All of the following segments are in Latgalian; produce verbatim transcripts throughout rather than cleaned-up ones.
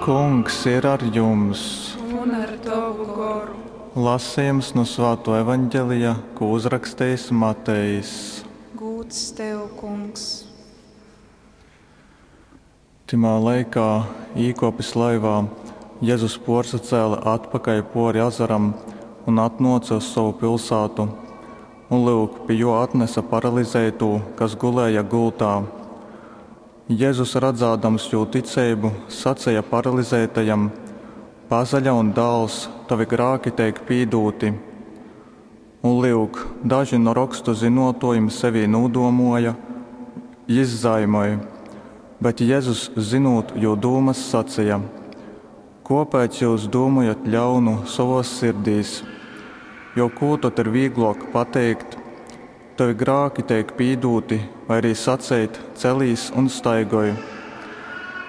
Kungs ir ar jums! Un ar tovu goru. Lasejums nu Svātuo Evangelija, kū uzrakstejis Matejs. Gūds tev, Kungs! Tymā laikā, īkōpis laivā, Jezus pōrsacēle atpakaļ pōri azaram un atnōce uz sovu pilsātu. Un, lyuk, pi jō atnese paralizeitū, kas gulēja gultā. Jezus, radzādams jū ticeibu, saceja paralizeitajam, Pasaļaun, dāls, tovi grāki teik pīdūti. Un, lyuk, daži nu Rokstu zynōtōjim sevī nūdūmōja, Jys zaimoj. Bet Jezus, zynūt jū dūmas, saceja, Kōpēc jyus dūmojat ļaunu sovōs sirdīs? Jo kū tod ir vīglōk pateikt, Tovi grāki teik pīdūti, vai arī saceit, Celīs un staigoj?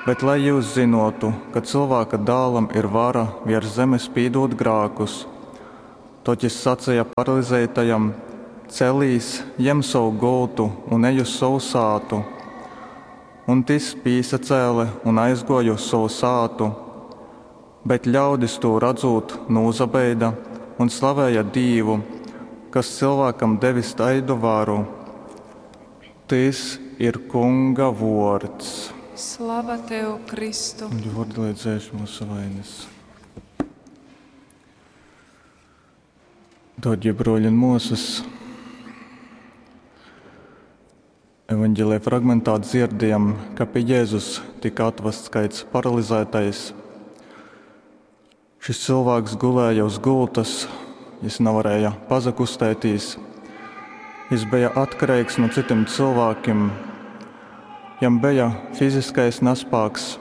Bet lai jyus zynōtu, ka Cylvāka Dālam ir vara vērs zemes pīdūt grākus. Tod jys saceja paralizeitajam, Celīs, jem sovu gultu un ej uz sovu sātu. Un tys pīsacēle un aizgōja uz sovu sātu. Bet ļaudis, tū radzūt, nūsabeida un slavēja Dīvu, kas cylvākam devis taidu varu. Tys ir Kunga vōrds. Slava tev, Kristu! Un vārdi, lai dzēš mūsu vainas. Dārgie broļi un māsas, evanģēlija fragmentā dzirdējam, ka pie Jēzus tika atvests kāds paralizētais. Šis cilvēks gulēja uz gultas, jis nevarēja pazakustētīs. Jis bija atkarīgs no citiem cilvēkiem. Jam bija fiziskais nespēks,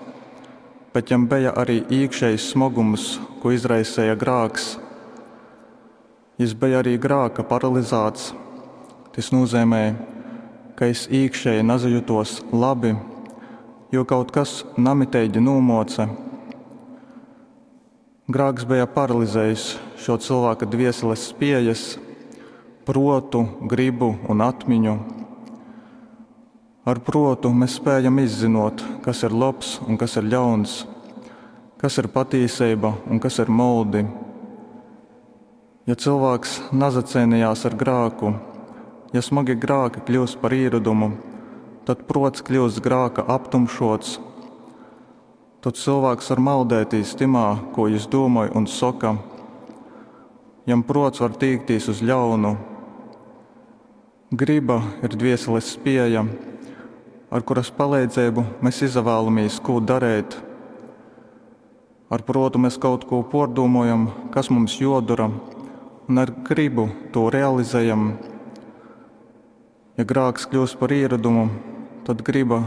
bet jam bija arī iekšējs smagums, ko izraisīja grāks. Jis bija arī grāka paralizēts. Tas nozīmē, ka es iekšēji nesajutos labi, jo kaut kas namitīgi nūmoca. Grāks bija paralizējis šo cilvēka dvieseles spējas, protu, gribu un atmiņu. Ar protu mēs spējam izzinot, kas ir labs un kas ir ļauns, kas ir patīsība un kas ir moldi. Ja cilvēks nazacēnījās ar grāku, ja smagi grāki kļūst par īradumu, tad prots kļūst grāka aptumšots. Tad cilvēks var maldētīs timā, ko jis domāj un soka. Jam prots var tīktīs uz ļaunu. Griba ir dvieseles spēja, ar kuras palīdzību mēs izvēlamies, ko darīt. Ar protu mēs kaut ko pārdomājam, kas mums jodara, un ar gribu to realizējam. Ja grāks kļūst par ieradumu, tad griba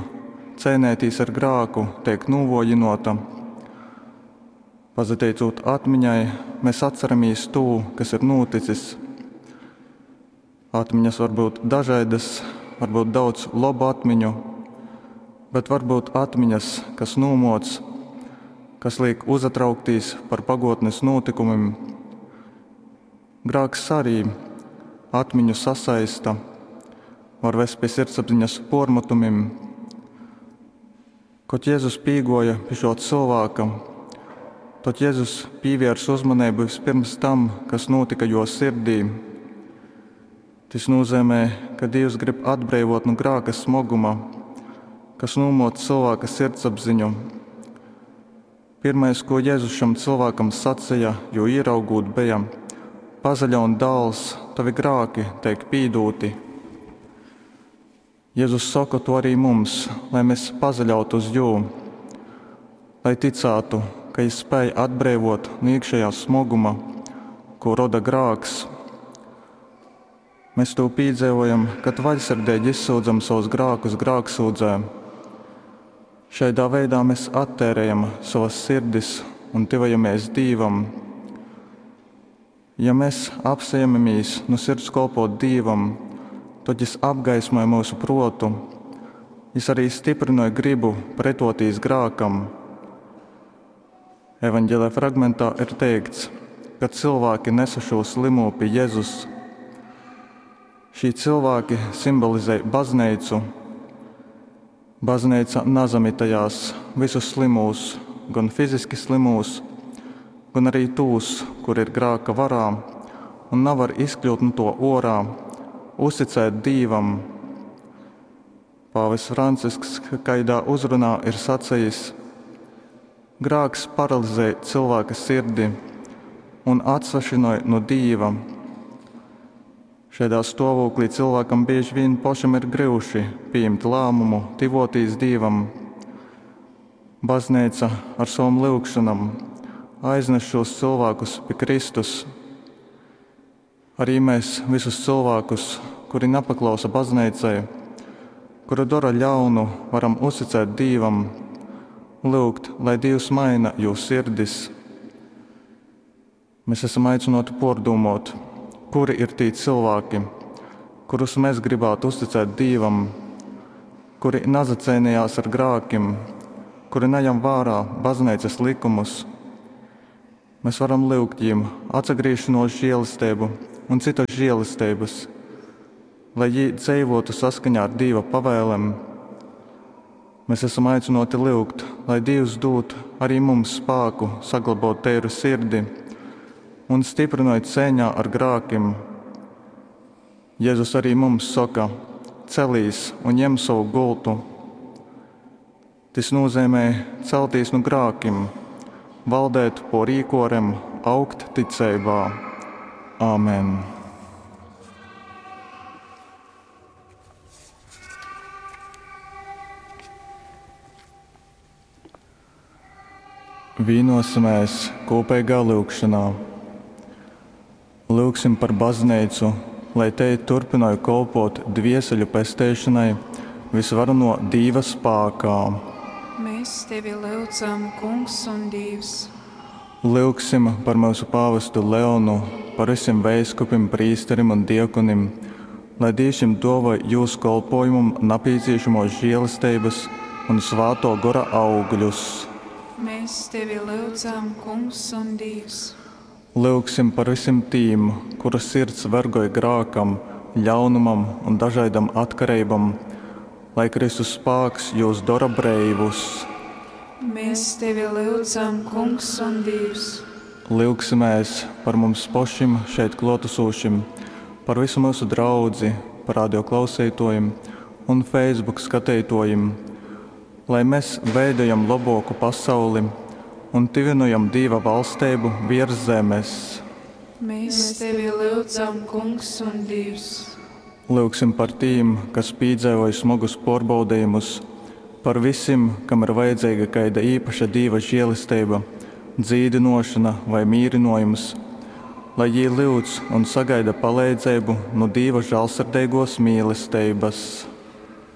cēnētīs ar grāku tiek nūvojinota. Pazateicot atmiņai, mēs atceramies to, kas ir noticis. Atmiņas var būt dažādas, var būt daudz labu atmiņu, bet var būt atmiņas, kas nūmoc, kas liek uzatrauktīs par pagotnes notikumiem. Grāks arī atmiņu sasaista, var vest pie sirdsapziņas pormatumiem. Kad Jēzus pīgoja pie šo cilvēka, tad Jēzus pievērsa uzmanību vispirms tam, kas notika jo sirdī. Tas nozīmē, ka Dievs grib atbrīvot no grāka smaguma, kas nūmot cilvēka sirdsapziņu. Pirmais, ko Jēzus šam cilvēkam sacīja, jo ieraugot bija: Pazaļaun, dāls, tavi grāki teik pīdūti. Jēzus saka to arī mums, lai mēs pazaļautu uz jū, lai ticētu, ka jis spēj atbrīvot no iekšējā smaguma, ko roda grāks. Mēs to piedzīvojam, kad vaļsirdīgi izsūdzam savus grākus grāksūdzē. Šādā veidā mēs attērējam savas sirdis un tuvojamies Dievam. Ja mēs apsēmamies no sirds kalpot Dievam, tad Jis apgaismoja mūsu protu. Jis arī stiprināja gribu pretotīs grākam. Evanģēlē fragmentā ir teikts, ka cilvēki nesa šo slimo pie Jēzus. Šī cilvēki simbolizē baznīcu. Baznīca nazamitajās visus slimūs, gon fiziski slymūs, gon ari tūs, kuri ir grāka varā un navar izkļyut nu tō ōrā, uzticēt Dīvam. Pāvests Francisks kaidā uzrunā ir sacejis, Grāks paralizej cylvāka sirdi un atsvešynoj nu Dīva. Šaidā stōvūklī cylvākam bīži vīn pošam ir gryuši pījimt lāmumu tyvōtīs Dīvam. Bazneica ar sovom lyugšonom aiznas šūs cylvākus pi Kristus. Ari mēs vysus cylvākus, kuri napaklausa bazneicai, kuri dora ļaunu, varam uzticēt Dīvam, lyugt, lai Dīvs maina jū sirdis. Mēs esam aicināti pārdomāt, kuri ir tī cilvēki, kurus mēs gribētu uzticēt Dīvam, kuri nasaceinījās ar grākim, kuri nejam vērā bazneicas likumus. Mēs varam lyugt jim atsagriešanos žēlestību un citas žēlestības, lai jī dzīvotu saskaņā ar Dīva pavēlēm. Mēs esam aicināti lyugt, lai Dievs dod arī mums spāku saglabāt teiru sirdi un stiprinoj cīņā ar grākim. Jēzus arī mums saka: celīs un ņem savu gultu. Tas nozīmē celtīs no grākim, valdēt por īkorem, augt ticībā. Āmen! Vīnosimies kopīgā lūgšanā. Lūgsim par baznīcu, lai te turpinātu kalpot dvieseļu pesteišanai visvarano Dīva spākā. Mēs tevi lūdzam, Kungs un Dievs. Lūgsim par mūsu pāvestu Leonu, par visiem veiskupim, prīsterim un diekonim, lai Dievs jim dāvāj jūsu kolpojumam nepieciešamos žēlestības un svāto gora augļus. Mēs tevi lūdzam, Kungs un Dievs. Lūgsim par visiem tīm, kuru sirds vergoj grākam, ļaunumam un dažādam atkarībam, lai Kristus spāks jūs dara breivus. Mēs tevi lūdzam, Kungs un Dievs. Lūgsimies par mums pašiem šeit klātesošiem, par visu mūsu draudzi, par radio klausītājiem un Facebook skatītājiem, lai mēs veidojam labāku pasauli un tuvinojam Dieva valstību virs zemes. Mēs tevi lūdzam, Kungs un Dievs. Lūgsim par tiem, kas piedzīvoja smagus pārbaudījumus, par visiem, kam ir vajadzīga kāda īpaša Dieva žēlastība, dzīdinošana vai mīrinojums, lai jī lūdz un sagaida palīdzību no Dieva žēlsirdīgos mīlestības.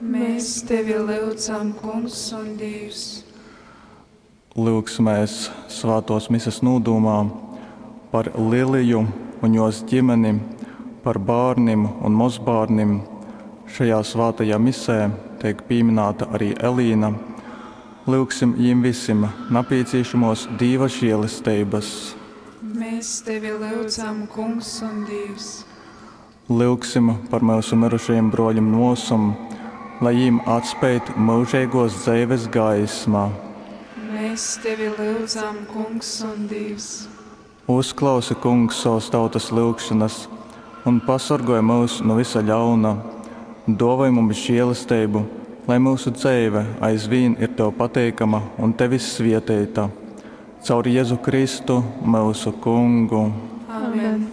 Mēs tevi lūdzam, Kungs un Dievs. Lūgsimies svētos mises nūdūmā par Liliju un jos ģimeni, par bērniem un mazbērniem. Šajā svētajā misē tiek pieminēta arī Elīna. Lūgsim jim visiem nepieciešamos Dieva žēlestības. Mēs tevi lūdzam, Kungs un Dievs. Lūgsim par mūsu mirušajiem broļiem nosum, lai jim atspēt mūžīgos dzīves gaismā. Mēs tevi lūdzam, Kungs un Dievs. Uzklausi, Kungs, savas tautas lūgšanas un pasargāj mūs no visa ļauna. Dāvāj mums žēlastību, lai mūsu dzīve aizvien ir tev pateikama un tevis svētīta. Caur Jēzu Kristu, mūsu Kungu. Amen.